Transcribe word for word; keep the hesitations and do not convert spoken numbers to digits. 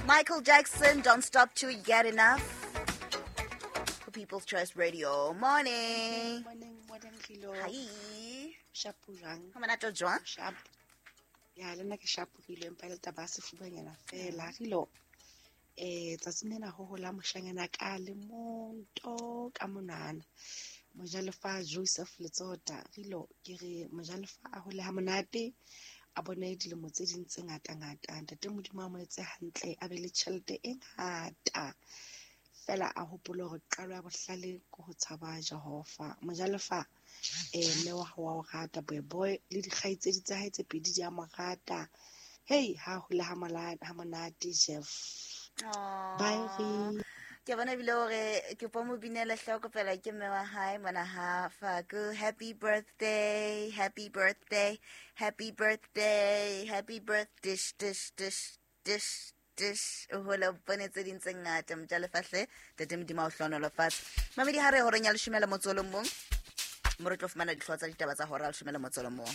Michael Jackson, Don't Stop Till You Get Enough. For People's Choice Radio. Morning. Morning, morning, Rilo. Hi. Shapo jwang? Ha monate o jwang? Sharp. Ya, le nna ke shapo Rilo, empa le taba ya sefubanyana fela. Rilo, eh, tsatsing lena ho hola moshanyana ka le mong to ka monwana. Mojalefa Joseph Letsota. Rilo, ke re mojalefa a hole ha monate, a bone dilemo tse ding tse ngata-ngata. Ntate Modimo a mo etse hantle, a be le tjhelete e ngata. Fela a hopole hore qalo ya bohlale ke ho tshaba Jehova. Mojalefa, eh, mme wa hao wa o rata, boy boy le dikgaitsedi tsa hae tse pedi di a mo rata. Hey, ha hole ha mola- ha monate, Jeff. Bye, Aww. Re. Ke bona ebile hore ke po mo binele hloko fela ke mme wa hae mona ha Faku. Happy birthday, happy birthday, happy birthday, happy birthday, dish, dish, dish, dish, dish. O hole o bone tse ding tse ngata mojalefa hle. Ntate Modimo a o hlohonolofatse. Mamedi ha re horeng ya leshome le motso o le mong, mo re tlo fumana dihlooho tsa ditaba tsa hora ya leshome le motso o le mong.